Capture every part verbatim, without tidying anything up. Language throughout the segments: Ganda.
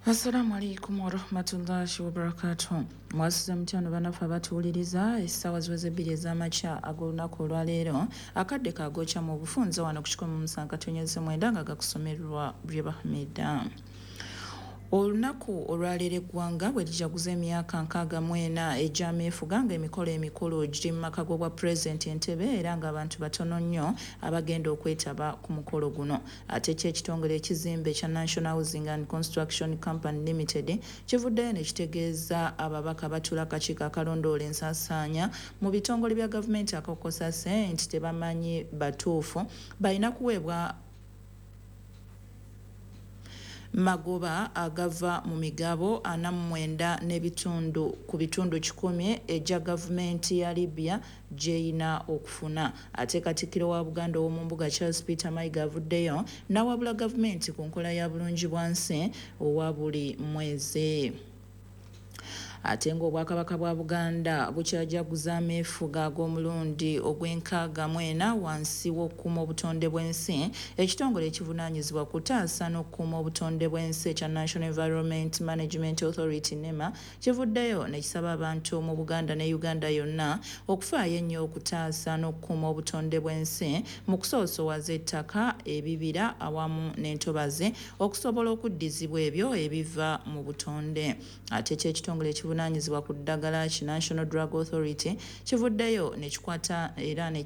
Assalamu alaikum warahmatullahi wabarakatuh. Mwasuze mutya bannaffe abatuwuliriza? Essaawa ziweze ebbiri ez'amakya ag'olunaku olwaleero, akadde kagokya mu bufunze wano ku kikumi mu musanvu katonyeze mwenda nga gakusomerwa Bye Hamida. Olunaku olwaleero eggwanga bwe lijaguza emyaka nkaaga mu ena egy'ameefuga, ng'emikolo emikulu giri mu maka g'obwa pulezidenti Entebbe, era ng'abantu batono nnyo abagenda okwetaba ku mukolo guno. Ate ki ekitongole ekizimbe ekya National Housing and Construction Company Limited kivuddeyo ne kitegeeza ababaka batuula akakiiko akalondoola ensaasaanya mu bitongole bya gavumenti aka COSASE nti tebamanyi batuufu balina kuweebwa magoba agava mu migabo ana mu mwenda n'ebitundu ku bitundu kikumi egya gavumenti ya Libya gy'erina okufuna. Ate Katikkiro wa Buganda ow'omumbuga Charles Peter Mayiga avuddeyo n'awabula gavumenti ku nkola ya bulungi bwansi owa buli mwezi. Ate ng'Obwakabaka bwa Buganda bukyajaguza ameefuga ag'omulundi ogw'enkaaga mu ena wansi w'okukuuma obutonde bw'ensi, ekitongole ekivunaanyizibwa kutaasa n'okukuuma obutonde bw'ensi ekya National Environment Management Authority, NEMA, kivuddeyo ne kisaba abantu mu Buganda ne Uganda yonna okufaayo ennyo okutaasa n'okukuuma obutonde bw'ensi mu kusoosowaza ettaka, ebibira awamu n'entobazi okusobola okuddizibwa ebyo ebiva mu butonde. Ate ki ekitongole ekivunaanyizibwa ku ddagala ki National Drug Authority kivuddeyo ne kikwata era ne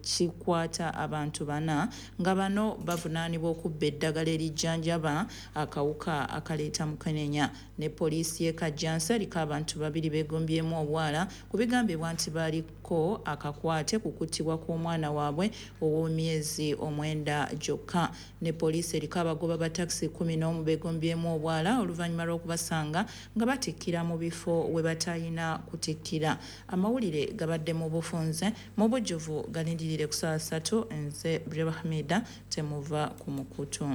kikwata abantu bana nga bano bavunaanibwa okubba eddagala erijjanjaba akawuka akaleeta mukenenya. Ne poliisi y'e Kajjansi eriko abantu babiri beegombyemu obwala ku bigambibwa nti baliko akakwate ku kuttibwa kw'omwana waabwe ow'emyezi omwenda gyokka. Ne poliisi eriko abagoba ba takisi kkumi n'omu beegombyemu obwala oluvannyuma lw'okubasanga nga batikkira mu bifo we batalina kutikkira. Amawulire gabadde mu bufunze, mu bujjuvu galindirire ku ssaawa ssatu. Nze Breba Hamida, temuva ku mukutu.